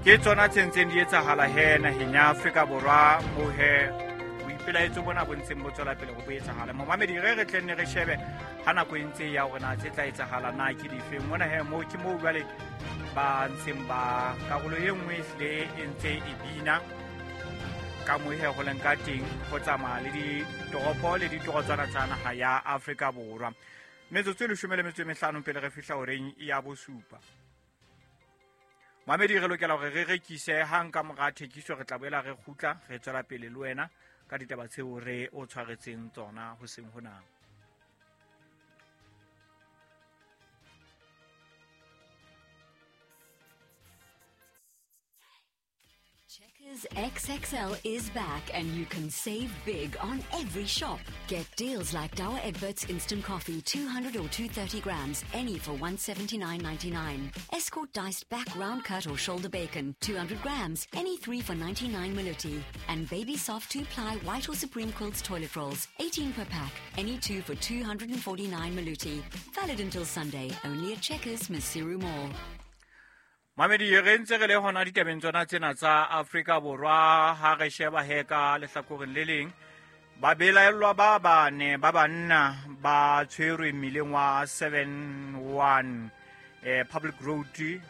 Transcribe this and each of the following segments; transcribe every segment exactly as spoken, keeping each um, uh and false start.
Ke tsona tse ntseng di etsahala he naheng ya Afrika Borwa moo he boipelaetso bona bo ntseng bo tswela pele ho bo etsahala. Momamedi re re tlenne re shebe ha nako e ntse ya hore na tse tla etsahala na ke dife. Mona he moo ke moo jwale ba ntseng ba karolo e nngwe ehlile e ntse e bina ka moo he ho leng ka teng ho tsamaya le ditoropo le ditorotswana tsa naha ya Afrika Borwa. Metsotso e leshome le metso e mehlano pele re fihla horeng ya bosupa. Mamedi re lokela hore re rekise hang ka mora thekiso re tla boela re kgutla re tswela pele le wena ka ditaba tseo re o tshwaretseng tsona hoseng hona. Checkers X X L is back and you can save big on every shop. Get deals like Douwe Egberts Instant Coffee, two hundred or two hundred thirty grams, any for one seventy-nine ninety-nine. Escort diced back round cut or shoulder bacon, two hundred grams, any three for ninety-nine Maluti. And Baby Soft two-ply white or Supreme Quilts toilet rolls, eighteen per pack, any two for two hundred forty-nine Maluti. Valid until Sunday, only at Checkers, Maseru Mall. Mamedi re ntse re le hona ditabeng tsona tsena tsa Afrika Borwa ha re sheba he ka lehlakoreng le leng ba belaellwa ba bane ba banna ba tshwerwe mmileng wa seven one eh Public Road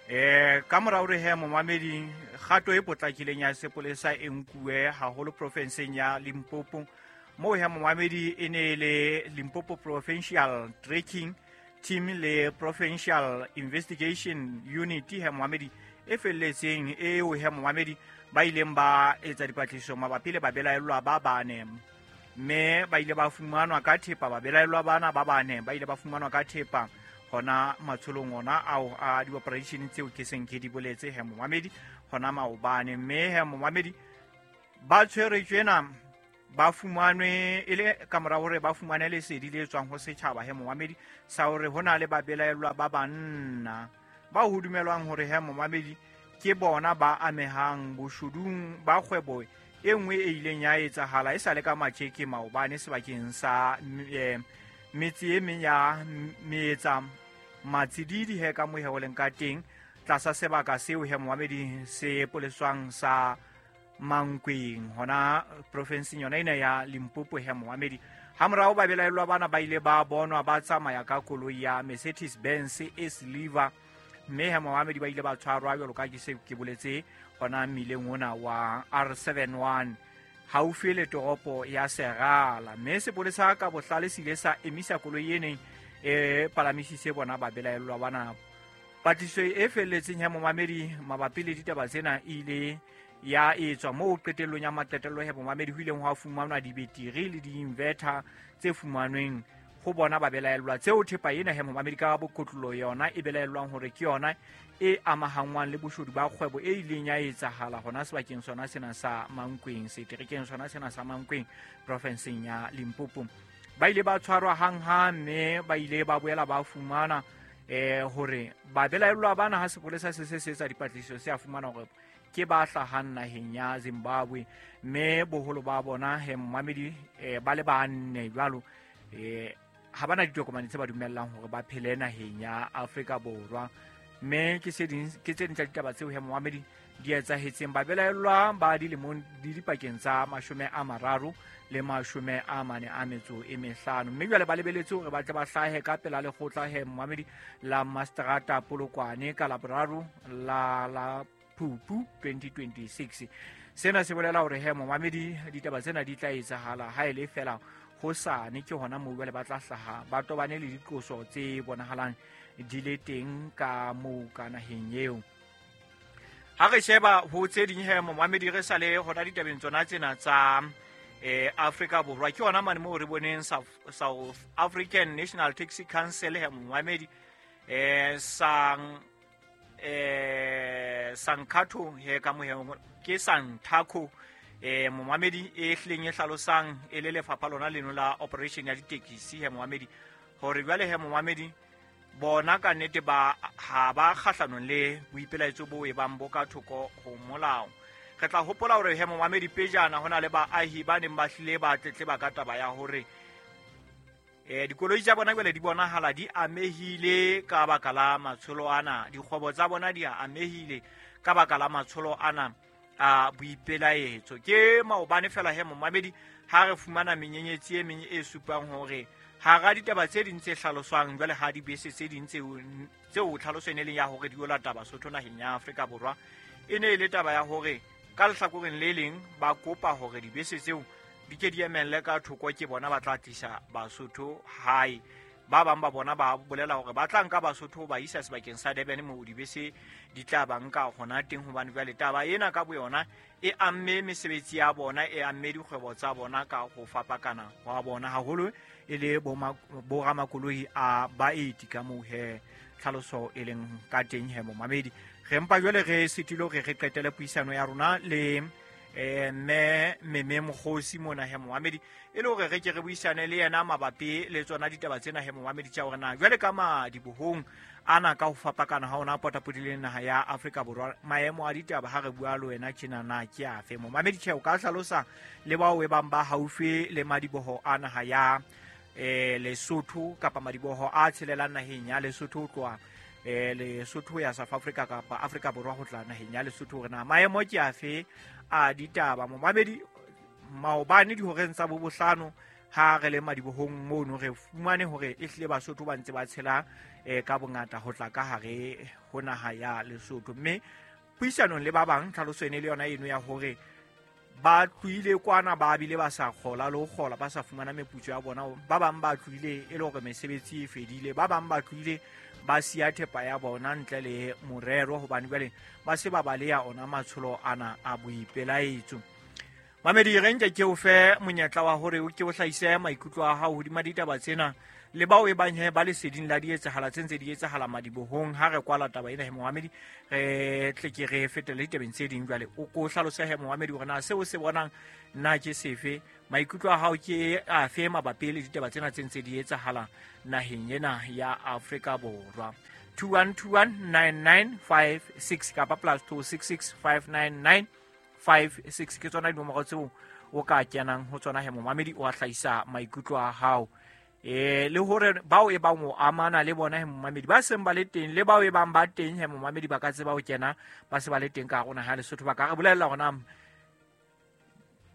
eh ka mora hore he momamedi kgato e potlakileng ya sepolesa e nkuwe haholo profenseng ya Limpopo moo he momamedi e ne le Limpopo Provincial Tracking Team le Provincial Investigation Unit he momamedi e felletseng eo he momamedi ba ileng ba etsa dipatlisiso mabapi le babelaellwa ba bane mme ba ile ba fumanwa ka thepa babelaellwa bana ba bane ba ile ba fumanwa ka thepa hona matsholong ona ao a di-operation tseo ke seng ke di boletse he momamedi hona maobane mme he momamedi ba tshwerwe tjena ba fumanwe e le ka mora hore ba fumane lesedi le tswang ho setjhaba he momamedi sa hore hona le babelaellwa ba banna ba ho dumelwang hore he momamedi ke bona ba amehang boshudung ba kgwebo e nngwe e ileng ya etsahala e sa le ka matjeke maobane sebakeng sa eh, metse e meng ya metsa matsididi he ka mohe ho leng ka teng tlasa sebaka seo he momamedi se poleswang sa Mankweng hona profenseng yona ena ya Limpopo he momamedi. Ha morao ba belaellwa bana ba ile ba bonwa ba tsamaya ka koloi ya Mercedes Benz e silver mme he momamedi ba ile ba tshwarwa jwalo ka ke se ke boletse hona mmileng ona wa R seven one haufi le toropo ya Serala mme sepolesa ka bohlale se ile sa emisa koloi e neng e palamisitse bona ba belaellwa bana. Patlisiso e felletseng ya momamedi mabapi le ditaba tsena e ile ya etswa moo qetellong ya maqetello he momamedi ho ileng hwa fumanwa dibetiri le di-inverter tse fumanweng ho bona ba belaellwa tseo thepa ena he momamedi ka bokotlolo yona e belaellwang hore ke yona e amahangwang le boshodu ba kgwebo e ileng ya etsahala hona sebakeng sona sena sa Mankweng seterekeng sona sena sa Mankweng profenseng ya Limpopo. Ba ile ba tshwarwa hanghang mme ba ile ba boela ba fumana eh hore ba belaellwa bana ha sepolesa se se se etsa dipatlisiso se a fumana hore ke ba hlahang naheng ya Zimbabwe mme boholo ba bona he momamedi eh, ba le banne jwalo eh ha bana ditokomane tse ba dumellang hore ba phele naheng ya Afrika Borwa mme ke se ding ke tse ding tsa ditaba tseo he momamedi di etsahetseng. Ba belaellwa ba dilemong di dipakeng tsa mashome a mararo le mashome a mane a metso e mehlano mme jwale ba lebeletse hore ba tle ba hlahe ka pela lekgotla he momamedi la Mastrata Polokwane ka Laboraro la la Phupu twenty twenty-six. Sena se bolela hore he momamedi ditaba tsena di tla etsahala ha e le fela hosane ke hona moo jwale ba tla hlaha ba tobane le diqoso tse bonahalang di le teng ka moo ka naheng eo. Ha re sheba ho tse ding he momamedi re sale hona ditabeng tsona tsena tsa eh Afrika Borwa ke hona mane moo re boneng South African National Taxi Council he momamedi eh sang eh Sankatho he ka mohe ke Santaco eh momamedi e hlileng e hlalosang e le lefapha lona leno la operation ya ditekisi he momamedi hore jwale he momamedi bona ka nnete ba ha ba kgahlanong le boipelaetso bo e bang bo ka thoko ho molao. Re tla hopola hore he momamedi pejana hona le baahi ba neng ba hlile ba tletleba ka taba ya hore eh dikoloi tsa bona jwale di bonahala di amehile ka baka la matsholo ana, dikgwebo tsa bona di amehile ka baka la matsholo ana a boipelaetso. Ke maobane fela he momamedi ha re fumana menyenyetsi e meng e supang hore hara ditaba tse ding tse hlaloswang jwale ha dibese tse ding tseo tseo tlhaloso e ne leng ya hore di yo lata Basotho naheng ya Afrika Borwa e ne e le taba ya hore ka lehlakoreng le leng ba kopa hore dibese tseo di ke di emelle ka thoko ke bona ba tla tlisa Basotho hae. Ba bang ba bona ba bolela hore ba tla nka Basotho ba isa sebakeng sa Durban moo dibese di tla ba nka hona teng, hobane jwale taba ena ka boyona e amme mesebetsi ya bona, e amme dikgwebo tsa bona ka ho fapakana wa bona haholo e le bo ramakoloi a baeti ka moo he tlhaloso e leng ka teng he momamedi. Re mpa jwale re sitile hore re qetele puisano ya rona le eh mme Meme Mokgosi mona he momamedi e le hore re ke re buisane le yena mabapi le tsona ditaba tsena he momamedi tsa hore na jwale ka madibohong ana ka ho fapakana ha ona potapodile naha ya Afrika Borwa maemo a ditaba ha re bua le wena tjena na ke afe momamedi. Tjhe o ka hlalosa le bao e bang ba haufi le madiboho a naha ya eh Lesotho kapa madiboho a tshelelang naheng ya Lesotho ho tloha eh Lesotho ya South Africa kapa Afrika Borwa ho tla naheng ya Lesotho hore na maemo ke afe a ditaba momamedi. Maobane dihoreng tsa bo bohlano ha re le madibohong mono re fumane hore e hlile Basotho ba ntse ba tshela eh ka bongata ho tla ka hare ho naha ya Lesotho, mme puisanong le ba bang tlhaloso ene le yona eno ya hore ba tlohile kwana ba bile ba sa kgola le ho kgola ba sa fumana meputso ya bona, ba bang ba tlohile e le hore mesebetsi e fedile, ba bang ba tlohile ba siya thepa ya bona ntle le morero hobane jwale ba se ba baleya ona matsholo ana a boipelaetso. Mamedi re nke ke o fe monyetla wa hore o ke o hlahise maikutlo a hao hodima ditaba tsena le bao e bang he ba leseding la dietsahala tse ntse di etsahala madibohong. Ha re kwala taba ena he momamedi re tle ke re fetele ditabeng tse ding jwale o ko hlalose he momamedi hore na seo se bonang nna ke sefe, maikutlo a hao ke afe mabapi le ditaba tsena tse ntse di etsahala naheng ena ya Afrika Borwa. two one two one nine nine five six kapa plus two six six five nine nine five six ke tsona dinomoro tseo o ka kenang ho tsona he momamedi o a hlahisa maikutlo a hao eh le hore bao e bang o amana le bona he momamedi ba seng ba le teng le bao e bang ba teng he momamedi ba ka tseba ho kena ba se ba le teng ka rona ha Lesotho ba ka re bolella hore na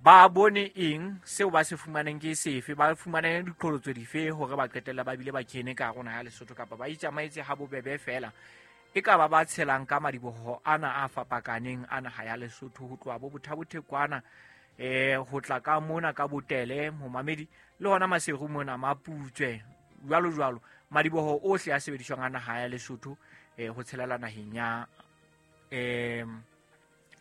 ba bone eng seo ba se fumaneng ke sefe, ba fumane diqholotso dife hore ba qetella ba bile ba kene ka rona ha Lesotho kapa ba itsamaetse ha bobebe fela e ka ba ba tshelang ka madiboho ana a fapakaneng ana ha ya Lesotho ho tloha bo Bothabothekwana eh ho tla ka mona ka Botele momamedi le hona Maseru mona Maputswe jwalo jwalo madiboho ohle a sebediswang ana ha ya Lesotho eh ho tshelela naheng ya eh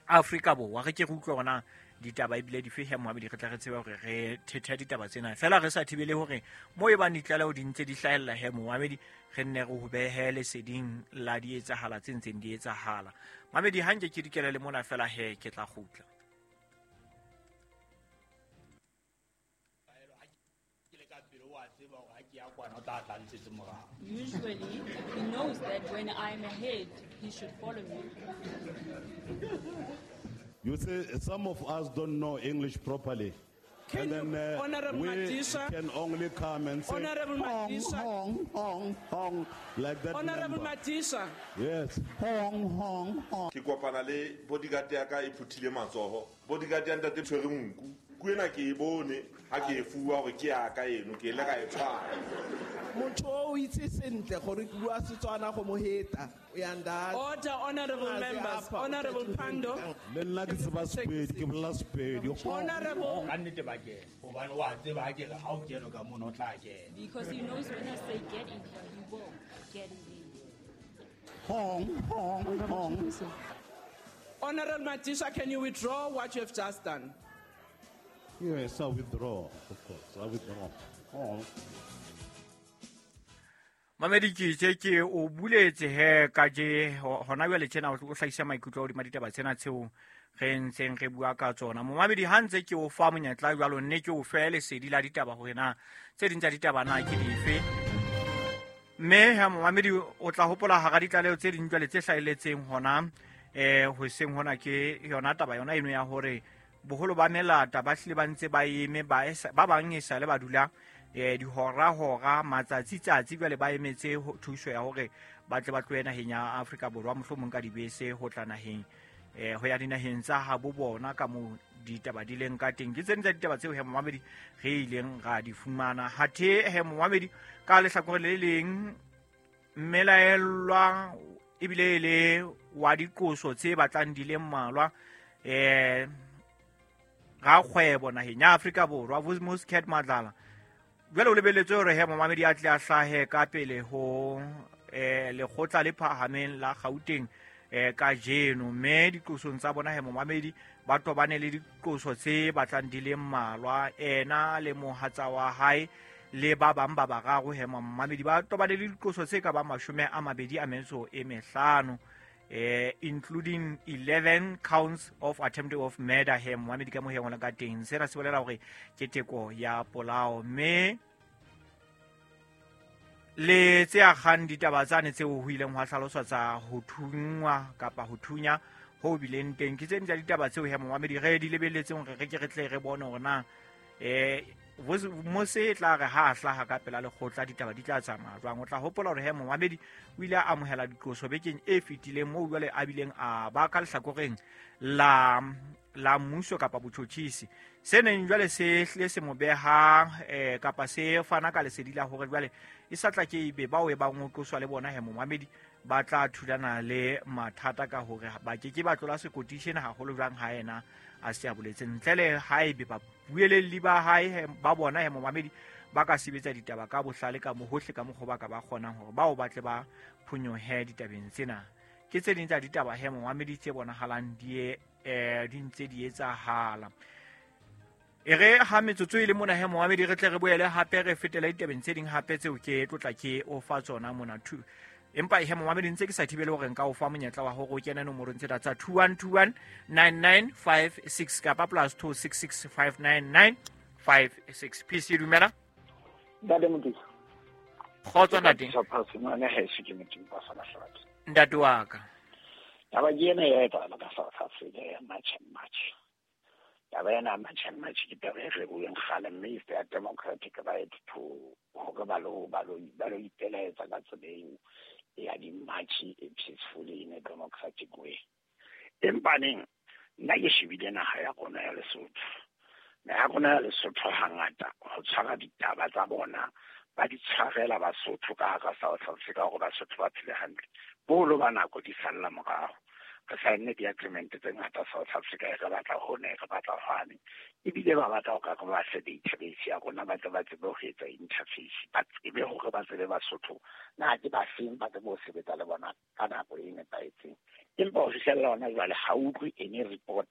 Afrika Borwa. Re ke re utlwe hona ditaba ebile di fehe momamedi re tla re tseba hore re thethe ditaba tsena fela re sa thibele hore mo e bang ditlaleho di ntse di hlahella he momamedi re nne re ho behe leseding la di etsahala tse ntseng di etsahala. Mamedi ha nke ke dikele le mona fela he ke tla kgutla. Usually he knows that when I'm ahead he should follow me. You see, some of us don't know English properly. Can and then uh, Honorable we Madisha, can only come and say, Honorable hong, Madisha, hong, hong, hong, like that. Honorable number. Madisha. Yes. Hong, hong, hong. Ke kopana le bodyguard ya ka e phuthile matsoho. Bodyguard ya ntate tshwere nku. Ku ena ke e bone ha ke e fuwa hore ke ya ka eno, ke ile ka e tshwara. Motho o itse sentle gore ke bua Setswana go mo heta. Uyanda. Order, honorable members. Honorable Pando. Le nna ke tseba Sepedi, ke bolela Sepedi. Honorable. Ka nnete ba kena. Hobane wa tseba ha ke re ha o kena ka mono o tla kena. Because he knows when I say get in here, he will get in. Hong, hong, hong. Honorable Madisha, can you withdraw what you have just done? Yes, I withdraw, of course. I withdraw. Hong. Mamedi ke itse ke o buletse he ka je hona jwale tjena o hlahisa maikutlo hodima ditaba tsena tseo re ntseng re bua ka tsona. Momamedi ha ntse ke o fa monyetla jwalo nne ke o fe lesedi la ditaba hore na tse ding tsa ditaba na ke dife. Mme ha momamedi o tla hopola hara ditlaleho tse ding jwale tse hlahelletseng hona eh hoseng hona ke yona taba yona eno ya hore boholo ba melata ba hlile ba ntse ba eme ba ba bang e sale ba dula eh dihora hora matsatsi tsatsi jwale ba emetse thuso ya hore ba tle ba tlohe naheng ya Afrika Borwa mohlomong ka dibese ho tla naheng eh ho ya dinaheng tsa habo bona ka mo ditaba di leng ka teng. Ke tse ding tsa ditaba tseo he momamedi re ileng ra di fumana. Hathe he momamedi ka lehlakore le leng mmelaellwa ebile le wa diqoso tse batlang di le mmalwa eh rakgwebo naheng ya Afrika Borwa Vusimuzi Cat Matlala jwale o lebelletswe hore he momamedi a tle a hlahe ka pele ho eh lekgotla le phahameng la Gauteng eh kajeno. Mme diqosong tsa bona he momamedi ba tobane le diqoso tse batlang di le mmalwa, ena le mohatsa wa hae le ba bang ba bararo he momamedi ba tobane le diqoso tse ka ba mashome a mabedi a metso e mehlano eh including eleven counts of attempt of murder he momamedi ka mo he ngwana ka teng. Sena se bolela hore ke teko ya polao. Mme le tse akgang ditaba tsane tseo ho ileng hwa hlaloswa tsa ho thungwa kapa ho thunya ho bileng teng ke tse ding tsa ditaba tseo he momamedi re di lebelletseng hore re ke re tle re bone hore na eh Mose tla re ha a hlaha ka pela lekgotla ditaba di tla tsamaya jwang. O tla hopola hore he momamedi o ile a amohela diqoso bekeng e fetileng moo jwale a bileng a ba ka lehlakoreng la la mmuso kapa botjhotjhisi. Se neng jwale se hlile se mo beha eh, kapa se fana ka lesedi la hore jwale e sa tla ke ebe bao e bang ho qoswa le bona he momamedi ba tla thulana le mathata ka hore ba ke ke ba tlola sekoti sena haholo jwang ha yena a se a boletse ntle le haebe ba buelelli ba hae ba bona he momamedi ba ka sebetsa ditaba ka bohlale ka mohohle ka mokgwa ba ka ba kgonang hore bao ba tle ba phonyohe ditabeng tsena. Ke tse ding tsa ditaba he momamedi tse bonahalang di eh di ntse di etsahala. E re ha metsotso e le mona he momamedi re tle re boele hape re fetele ditabeng tse ding hape tseo ke tlotla ke o fa tsona mona two. Empa he momamedi ntse ke sa thibele hore nka o fa monyetla wa hore o kene nomorong tsena tsa two one two one nine nine five six kapa plus two six six five nine nine five six. P C dumela. Ntate Modisa. Kgotso ntate. Ntate wa ka. Taba ke ena ya etsahala ka South Africa ya March and March. Taba ena ya March and March ke taba e re bueng kgale, mme is their democratic right to hore ba lo ba lo ba lo ipelaetsa ka tsela eo ya di-march peacefully in a democratic way. Empa neng nna ke shebile naha ya rona ya Lesotho. Naha ya rona ya Lesotho hangata ho tshwara ditaba tsa bona ba di tshwarela Basotho ka hara South Africa hore Basotho ba phele hantle. Boholo ba nako di salla morao. Re saenne di-agreement tse ngata South Africa e re batla hone, e re batla hwane. Ebile ba batla ho ka re ba fe database ya rona ba tle ba tsebe ho etsa interface, ba tsebe hore ba tsebe Basotho na ke ba feng, ba tsebe ho sebetsa le bona ka nako e nepahetseng. Empa ho fihlella hona jwale ha utlwe any report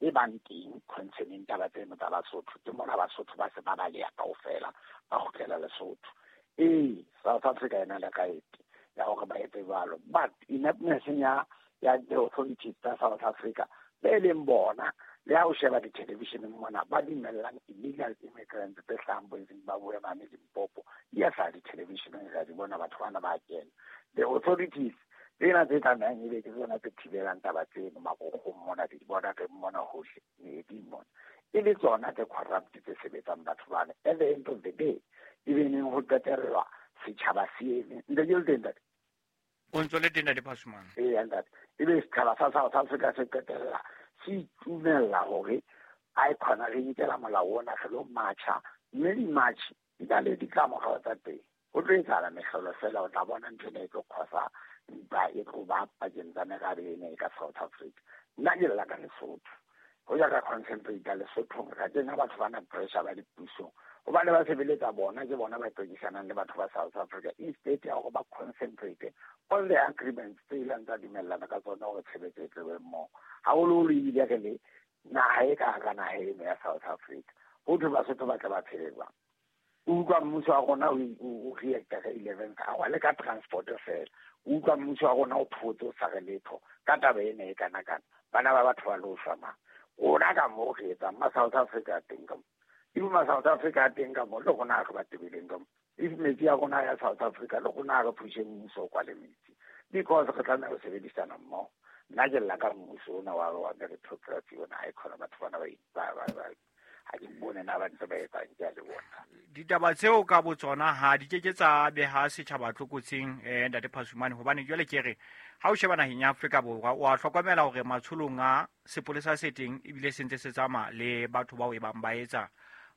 e bang teng concerning taba tseno tsa Basotho. Ke mona Basotho ba se ba baleha kaofela ba kgutlela Lesotho. Ee, South Africa e na le right ya hore ba etse jwalo, but ineptness ya ya the authorities tsa South Africa be leng bona le ha o sheba di-television mona ba dumellang illegal immigrants tse hlahang bo Zimbabwe mane Limpopo di a hlaha di-television-eng ra di bona batho bana ba kena. The authorities tsena tse tlamehang ebe ke tsona tse thibelang taba tseno marokgong mona di bona re mona hohle meeding mona e le tsona tse corrupt tse sebetsang batho bana. At the end of the day ebe neng ho qetellwa setjhaba se eme ntse ke le teng ntate. O ntso le teng ntate Phasumane? Ee ntate, ebe setjhaba sa South Africa se qetella se itumella hore a e khona re nkela molao ona re lo matjha, mme di-march di na le ditlamorao tsa teng. Ho tlo etsahala mehlolo fela, o tla bona ntho ena e tlo causa ntwa e tlo ba pakeng tsa merabe ena e ka South Africa. Nna ke lla ka Lesotho. Ho ya ka concentrate Lesothong, ra kenya batho ba na pressure ba dipusong hobane ba sebeletsa bona, ke bona ba tsekisanang le batho ba South Africa instead ya hore ba concentrate on the agreements tse ileng tsa dumellana ka tsona hore tshebetso e tlebe mmoho. Haholoholo ebile re le naha e ka hara naha eno ya South Africa. Ho thwe Basotho ba tle ba phele jwang? O utlwa mmuso wa rona o reacta ka eleventh hour le ka transport fela. O utlwa mmuso wa rona o photse o sa re letho ka taba ena e kana kana. Bana ba batho ba lo shwa mang. Rona ka moo re etsang ma South Africa a teng ka mo. If ma South Africa a teng ka mo le rona re ba tebileng ka mo. If metsi a rona ya South Africa le rona re phushe mmuso o kwale metsi. Because re tlameha ho sebedisana mmoho. Nna ke lla ka mmuso ona wa wa meritocracy ona ha e khona batho bana ba ba ba ha ke bone na ba ntse ba etsang ke a le bona. Ditaba tseo ka botsona ha di ke ke tsa beha setjhaba tlokotsing eh ntate Phasumane, hobane jwale ke re ha o sheba naheng ya Afrika Borwa o a hlokomela hore matsholong a sepolesa se teng ebile se ntse se tsamaya le batho bao e bang ba etsa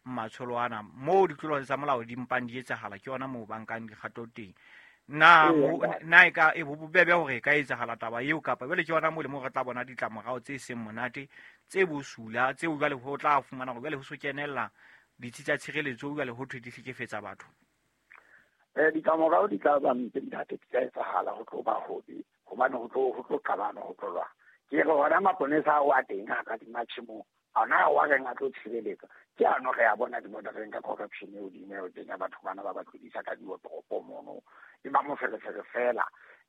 matsholo ana moo ditlolo tsa molao di mpang di etsahala, ke yona moo ba nkang dikgato teng. Na na e ka e bobebe hore e ka etsahala taba eo, kapa jwale ke yona moo le mo re tla bona ditlamorao tse seng monate tse bosula tseo jwale ho tla fumana hore jwale ho so kenella ditsi tsa tshireletso jwale ho thwe di hlekefetsa batho. Eh ditlamorao di tla ba mpe ntate, di tla etsahala ho tlo ba hobe hobane ho tlo ho tlo qabana ho tlo lwa. Ke re hona maponesa ao a teng ha ka di-march moo ona wa reng a tlo tshireletsa ke ano re a bona di-bordereng ka corruption eo di eo teng ya batho bana ba ba tlodisa ka diotoropo mono e ba moferefere fela.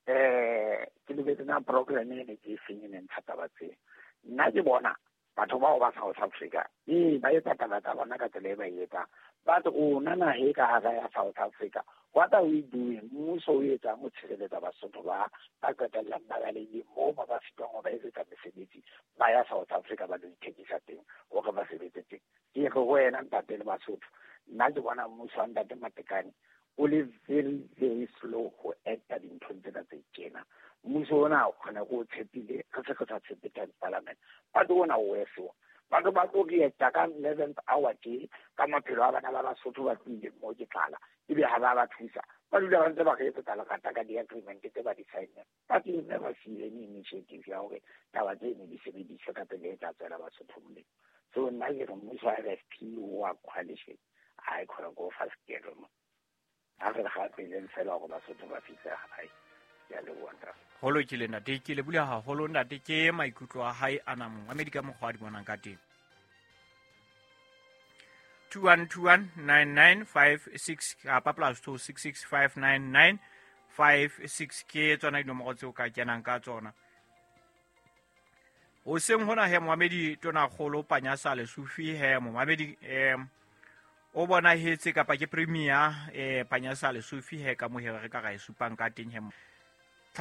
Eh ke lebetse na program e ne ke e feng e ne ntsha taba tse. Nna ke bona batho bao ba South Africa ee ba etsa taba tsa bona ka tsela e ba e etsang, but rona naha e ka hara ya South Africa, what are we doing? Mmuso o etsang ho tshireletsa Basotho ba ba qetellang ba balehile moo ba ba fitwang ho ba etsetsa mesebetsi ba ya South Africa ba lo ithekisa teng hore ba sebetse teng. Ke re ho wena ntate le Basotho, nna ke bona mmuso wa ntate Matekane o le very very slow ho acta dinthong tsena tse tjena. Mmuso ona o kgona ko o tshepile, re se re sa tshepe parliament, but ona o weso. Batho ba tlo reacta ka eleventh hour tje ka maphelo a bana ba Basotho ba tlohileng moo ke tlala, ebe ha ba ba thusa ba dula ba ntse ba re etsetsa lerata ka di-agreement tse ba di sign-eng. But you never see any initiative ya hore taba tseno di sebediswe ka tsela e tla tswela Basotho molemo. So nna ke re mmuso wa R F P wa coalition ha e khona go fa sekelo mo. Ha re gapeleng fela hore Basotho ba fihle hae. Ke a leboha ntate. Ho lokile ntate, ke leboha haholo ntate, ke maikutlo a hae a nang Amerika mokgwa a di bonang ka teng. two one two one nine nine five six kapa plus two six six five nine nine five six ke tsona dinomoro tseo ka kenang ka tsona. Hoseng hona he momamedi Tonakgolo Panyasa Lesufi he momamedi eh o bonahetse kapa ke premier eh Panyasa Lesufi he ka mohero re ka ra e supang ka teng he